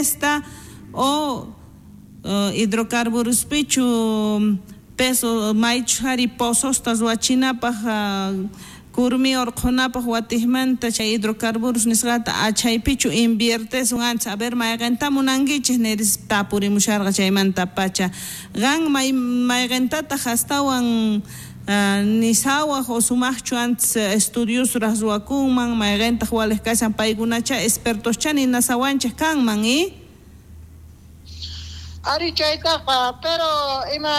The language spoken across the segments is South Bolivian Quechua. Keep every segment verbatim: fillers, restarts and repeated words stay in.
soplesta o uh, hidrocarburospichu peso maychu hari pozosta ruwachinapaj uh, kurmi orqhunapaj watijmanta chay hidrocarburos nisqata achaypichu inviertesun ancha a ver mayqenta munankichis niris tapurimusharqa chaymanta pacha qan may mayqentataq astawan uh, nisawaj o sumaqchu antes estudios ruwakunman mayqentaq waliq kashan paykunacha expertoscha ninasawanchik kanman y Ari chaytaqa pero ima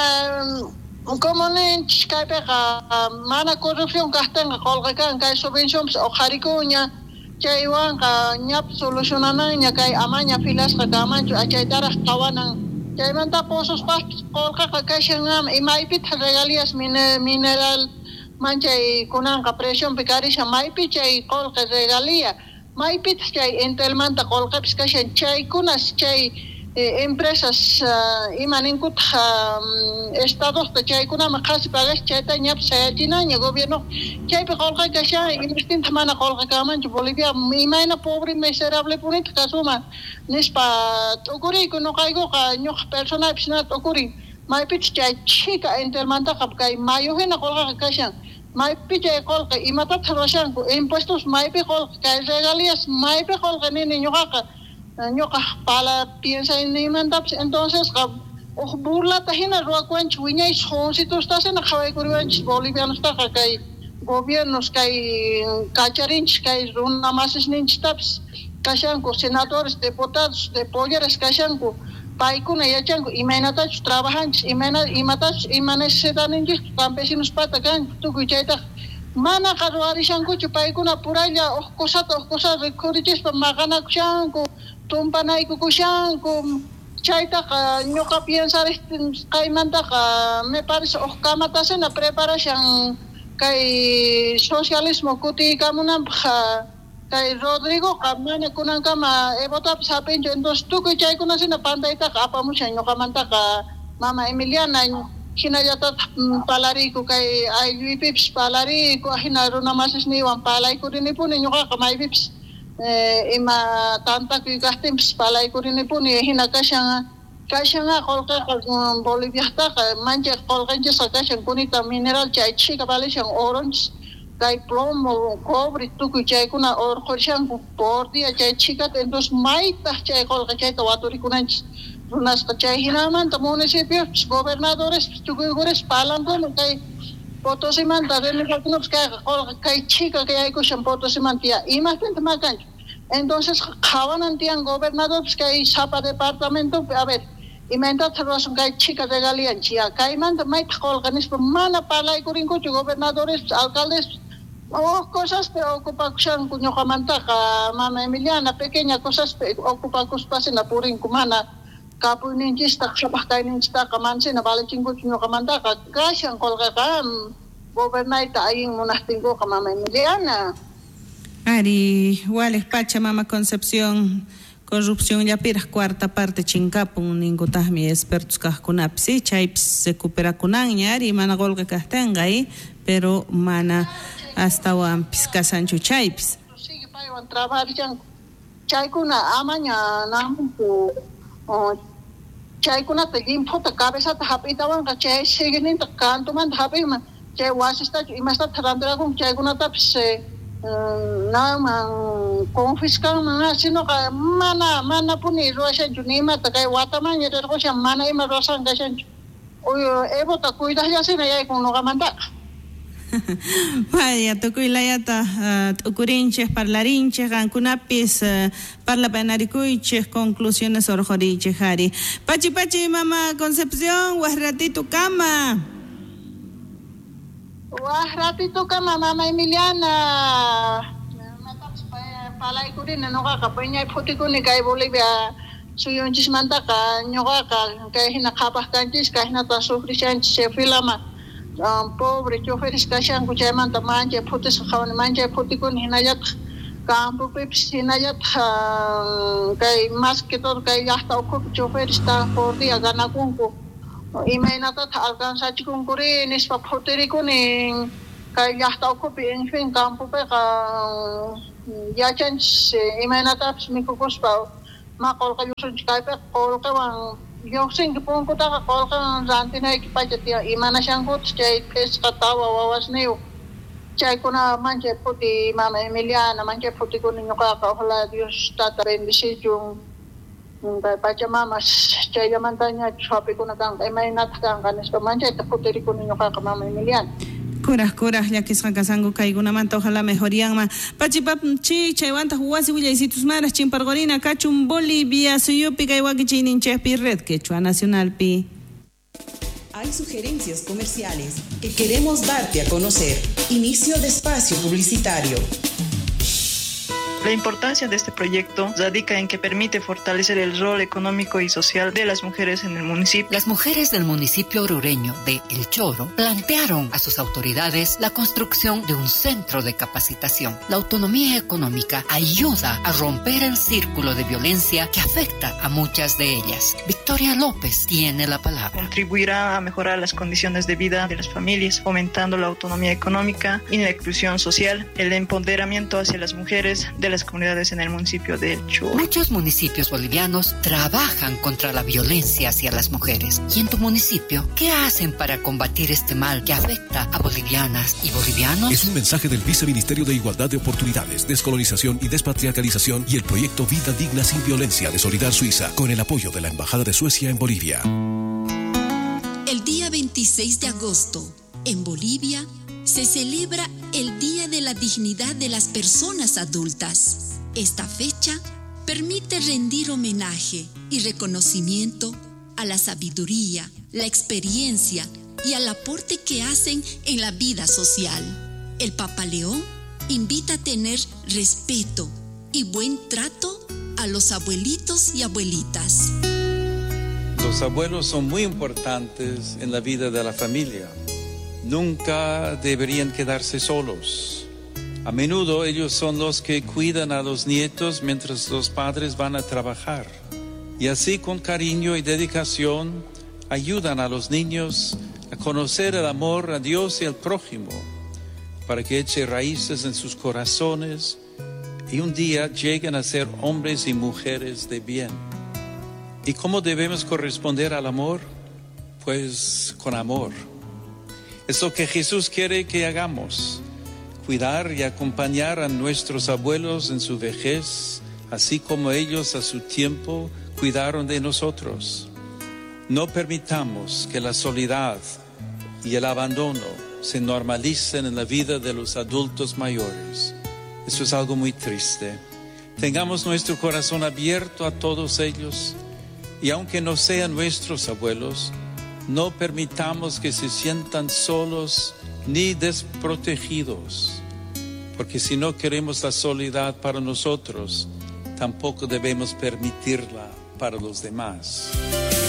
como ninchis kaypiqa mana corrupción kaqtinqa qolqe kan kay subvencionpis uqharikuña chaywanqa ñapis solucionananña kay amaña filasqa kanmanchu achaytaraq qhawanan chaymanta pozospaqpis qolqeqa kashan imaypitaq regalías mineral manchay kunanqa presionpi karishan maypi chay qolqe regalía maypitaq chay Entelmanta qolqepis kashan chaykunas chay Eh, empresas uh, ima ninkutaq um, estadosta chaykunaman qhasi pagasha chayta ñapis sayachinaña gobierno chaypi qolqe kashan imastintaq mana qolqe kanmanchu Bolivia imayna pobre miserable punitaq kasuman nispa t'ukuriyku ñuqaykuqa ñuqa personalpis na t'ukurin maypichus chay chhika Entelmantaqa kay mayu hina qolqeqa kashan maypi chay qolqe imatataq ruwashanku impuestos maypi qolqe kay regalías maypi qolqe nini ñuqaqa ñuqa pala piensaynimantapis entonces uj burlata hina ruwakuwanchis wiñay jovencitostasina qhawaykuriwanchis bolivianostaqa kay gobiernos kay kacharinchis kay runa masisninchistapis kashanku senadores diputados de polleras kashanku paykuna yachanku imaynatachus trabajanchis imayna imatachus ima necesitaninchis campesinospata kanku tukuy chaytaqa manaqa ruwarishankuchu paykuna puralla uj cosata uj cosata rikhurichispa maqanakushanku tumpanaykukushanku chaytaqa ñuqa piensarisqaymantaqa me parece uj kamatasina preparashan kay socialismo kutiykamunanpaq kay Rodrigoqa mana kunankama Evotapis hap'inchu entonces tukuy chaykunasina pantaytaqa apamushan ñuqamantaqa mama Emiliana hinallatataq palariyku kay aylluypipis palariyku hina runa masisniywan palaykurinipuni ñuqaqa maypipis Eh, ima tantakuy kaqtinpis palaykurinipuni hina kashan kashanqa qolqeqa Boliviajtaqa manchay qolqenchisqa kashan kunita mineral chay chhika valishan oronchis kay plomo cobre tukuy chaykuna urqhurishanku por día chay chhikata entonces maytaq chay qolqe chayta waturikunanchis runasqa chay hinamanta municipiospis gobernadorespis tukuykuris palankuna kay Potosimanta renegakunapis kayqa qolqe kay chhika kayaykushan Potosimanta ya imapintaq makanchu entonces qhawanan tiyan gobernadorpis kay sapa departamentopi a ver imaynatataq ruwasun kay chhika regalianchis ya kaymanta maytaq qolqe nispa mana parlaykurinkuchu gobernadorespis alcaldespis uj cosaspi ocupakushanku ñuqamantaqa mama Emiliana pequeña cosaspi ocupakuspasina purinku mana kapuyninchista qhapaq kayninchistaqa manasina valichinkuchu ñuqamantaqa kashan qolqeqa gobernayta allin munaqtinkuqa mama Emiliana. Ari, waliq pacha mama Concepción corrupción llapiraq cuarta parte chinkapun ninkutaqmi expertos kaqkunapis ¿sí? Chaypis recuperakunanña ari mana qolqe kaqtinqa ¿eh? Pero mana astawanpis kashanchu chaypis. Sigue paywan trabajarishanku chaykuna amaña namunku chaykunata llimphuta cabezata hap'itawanqa chay siguininta kantumanta hap'inman chay wasistachu imastata rantirakunku chaykunatapis naman confiscanman sinoqa mana manapuni ruwashanchu ni imata kay watamanña rirqushan mana ima ruwashan kashanchu Evota cuidaqllasina yaykun ñuqamantaqa. Vaya, tukuy layata uh, t'ukurinchej parlarinchej qankunapis uh, parlapanarikuychej conclusiones urqhurichej ari. Pachi pachi mama Concepción, waj ratito kama. Waj ratito kama mama Emiliana. Matapis palaykurina ñuqaqa piñay phutikuni kay Bolivia suyunchismantaqa ñuqaqa kay hina qhapaq kanchis kay hinata sufrishanchis chay filama. Um, pobre choferes kashanku chaymanta manchay phutisqa qhawani manchay phutikuni hinallataq campopipis hinallataq uh, kay más que todo kay llaqta ukhupi choferes tan por día ganakunku imaynatataq alcanzachikunkuri nispa phutirikuni kay llaqta ukhupi en fin campopiqa yachanchis imaynatapis mikhukuspa Ma qolqe lluqsinchu kaypiqa qolqewan lluqsinki punkutaqa qolqewan rantinayki pacha tiyan imanashankutaq chay phisqa tawa wawasniyuq chaykuna manchay phuti mama Emiliana manchay phutikuni ñuqaqa ojalá Dios tata bendicichun kay pachamamas chayllamantañachus hap'ikuna kanqa imaynataq kanqa nispa manchayta phutirikuni ñuqaqa mama Emiliana. Kuraj kuraj llakisqa kasanku kaykunamanta ojalá mejorianman pachipapchi chaywantaq wasi willaysitusmaraj chimparqurina kachun Bolivia suyupi kay wakichiyninchikpi Red Quechua Nacionalpi. Hay sugerencias comerciales que queremos darte a conocer. Inicio de espacio publicitario. La importancia de este proyecto radica en que permite fortalecer el rol económico y social de las mujeres en el municipio. Las mujeres del municipio orureño de El Choro plantearon a sus autoridades la construcción de un centro de capacitación. La autonomía económica ayuda a romper el círculo de violencia que afecta a muchas de ellas. Victoria López tiene la palabra. Contribuirá a mejorar las condiciones de vida de las familias, fomentando la autonomía económica y la inclusión social, el empoderamiento hacia las mujeres de las comunidades en el municipio de El Choro. Muchos municipios bolivianos trabajan contra la violencia hacia las mujeres. ¿Y en tu municipio qué hacen para combatir este mal que afecta a bolivianas y bolivianos? Es un mensaje del Viceministerio de Igualdad de Oportunidades, Descolonización y Despatriarcalización y el proyecto Vida Digna sin Violencia de Solidar Suiza, con el apoyo de la Embajada de Suecia en Bolivia. El día veintiséis de agosto, en Bolivia, se celebra el Día de la Dignidad de las Personas Adultas. Esta fecha permite rendir homenaje y reconocimiento a la sabiduría, la experiencia y al aporte que hacen en la vida social. El Papa León invita a tener respeto y buen trato a los abuelitos y abuelitas. Los abuelos son muy importantes en la vida de la familia. Nunca deberían quedarse solos. A menudo ellos son los que cuidan a los nietos mientras los padres van a trabajar. Y así con cariño y dedicación ayudan a los niños a conocer el amor a Dios y al prójimo, para que eche raíces en sus corazones y un día lleguen a ser hombres y mujeres de bien. ¿Y cómo debemos corresponder al amor? Pues con amor. Es lo que Jesús quiere que hagamos, cuidar y acompañar a nuestros abuelos en su vejez, así como ellos a su tiempo cuidaron de nosotros. No permitamos que la soledad y el abandono se normalicen en la vida de los adultos mayores. Eso es algo muy triste. Tengamos nuestro corazón abierto a todos ellos y aunque no sean nuestros abuelos, no permitamos que se sientan solos ni desprotegidos, porque si no queremos la soledad para nosotros, tampoco debemos permitirla para los demás.